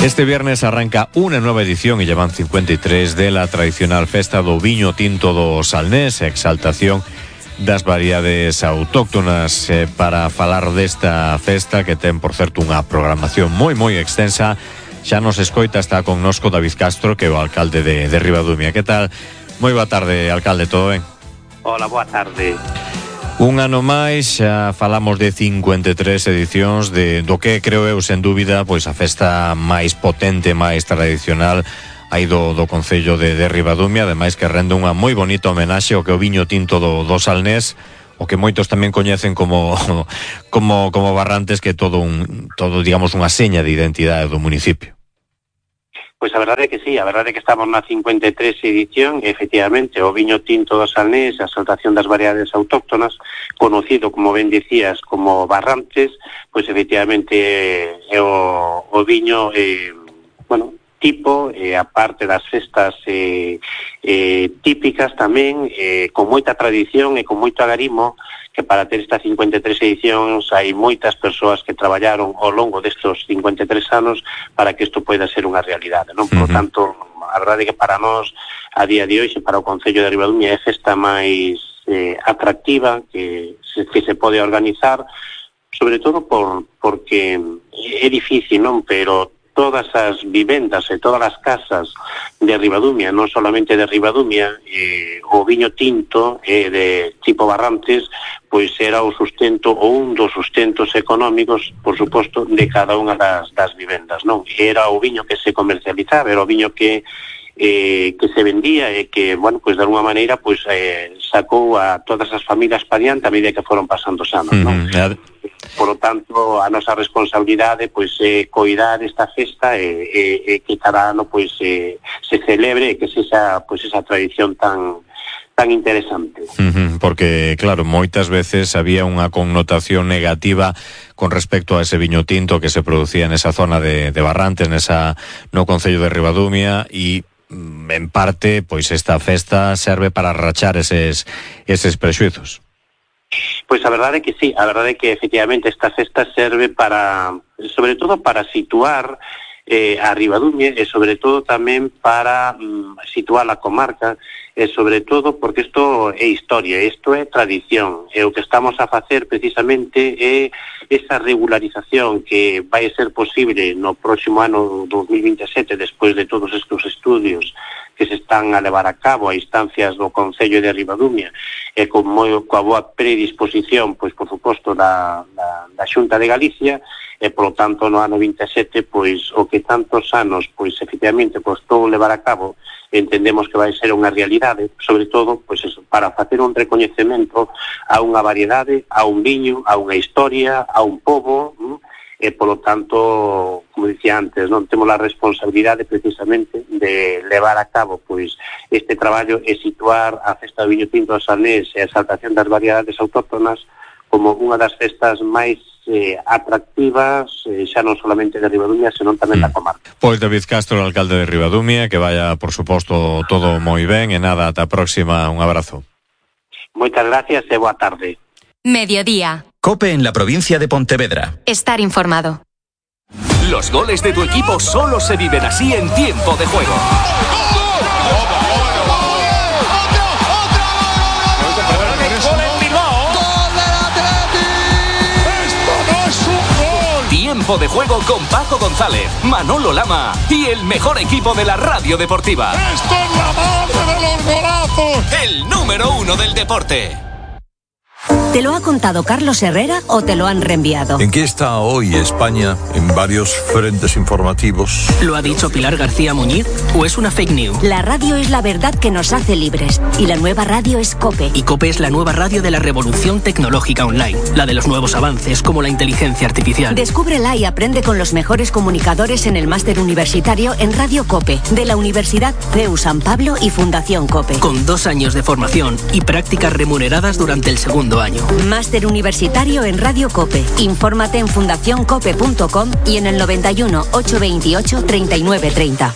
Este viernes arranca una nueva edición y llevan 53 de la tradicional festa do viño tinto do Salnés, exaltación das variedades autóctonas. Para falar desta festa, que ten, por certo, unha programación moi extensa, xa nos escoita, está connosco David Castro, que é o alcalde de Ribadumia. Que tal? Moi boa tarde, alcalde, todo ben? Hola, boa tarde. Un ano máis, xa falamos de 53 edicións do que creo eu, sen dúbida, pois a festa máis potente, máis tradicional aí do Concello de Ribadumia, ademais que rende unha moi bonita homenaxe ao que o viño tinto do Salnés, o que moitos tamén coñecen como Barrantes, que é todo digamos, unha seña de identidade do municipio. Pois a verdade é que sí, a verdade é que estamos na 53 edición, e efectivamente o viño tinto do Salnés, a exaltación das variedades autóctonas, conocido, como ben dicías, como Barrantes, pois efectivamente é o viño, tipo, a parte das festas típicas tamén, con moita tradición e con moito agarimo, que para ter estas 53 edicións hai moitas persoas que traballaron ao longo destos 53 anos para que isto poida ser unha realidade, non? Por tanto, a verdade é que para nós, a día de hoxe, para o Concello de Ribadumia, é a festa máis atractiva que se pode organizar, sobre todo porque é difícil, non? Pero todas as vivendas e todas as casas de Ribadumia, non solamente de Ribadumia, o viño tinto de tipo Barrantes, pois era o sustento ou un dos sustentos económicos, por suposto, de cada unha das vivendas, non? Era o viño que se comercializaba, era o viño que se vendía e que, pois de alguma maneira, pois sacou a todas as familias pa diante a medida que foron pasando os anos, non? Por lo tanto, a nosa responsabilidade pois é coidar esta festa e que cada ano pois se celebre e que sexa pois esa tradición tan interesante. Porque, claro, moitas veces había unha connotación negativa con respecto a ese viño tinto que se producía nesa zona de Barrantes, no Concello de Ribadumia, e en parte, pois esta festa serve para rachar eses prexuizos. Pois a verdade é que sí, a verdade é que efectivamente esta festa serve sobre todo para situar a Ribadumia e sobre todo tamén para situar a comarca e sobre todo porque isto é historia, isto é tradición e o que estamos a facer precisamente é esa regularización que vai ser posible no próximo ano 2027 despois de todos estes estudios que se están a levar a cabo a instancias do Concello de Ribadumia e coa boa predisposición, pois por suposto da Xunta de Galicia, e polo tanto no ano 27, pois o que tantos anos pois efectivamente costou levar a cabo, entendemos que vai ser unha realidade, sobre todo pois eso, para facer un recoñecemento a unha variedade, a un viño, a unha historia, a un pobo, e polo tanto, como dicía antes, non temos a responsabilidade precisamente de levar a cabo pois este traballo e situar a festa do viño tinto do Salnés e a exaltación das variedades autóctonas como unha das festas máis atractivas, xa non solamente de Ribadumia, senón tamén da comarca. Pois David Castro, o alcalde de Ribadumia, que vaya, por suposto, todo moi ben, e nada, ata a próxima, un abrazo. Moitas gracias e boa tarde. Mediodía. COPE en la provincia de Pontevedra. Estar informado. Los goles de tu equipo solo se viven así en Tiempo de Juego. Tiempo de Juego con Paco González, Manolo Lama y el mejor equipo de la radio deportiva. ¡Esto es la madre de los golazos! El número 1 del deporte. ¿Te lo ha contado Carlos Herrera o te lo han reenviado? ¿En qué está hoy España en varios frentes informativos? ¿Lo ha dicho Pilar García Muñiz o es una fake news? La radio es la verdad que nos hace libres y la nueva radio es COPE. Y COPE es la nueva radio de la revolución tecnológica online, la de los nuevos avances como la inteligencia artificial. Descúbrela y aprende con los mejores comunicadores en el máster universitario en Radio COPE de la Universidad CEU San Pablo y Fundación COPE. Con 2 años de formación y prácticas remuneradas durante el segundo año. Máster universitario en Radio COPE. Infórmate en fundacioncope.com y en el 91 828 3930.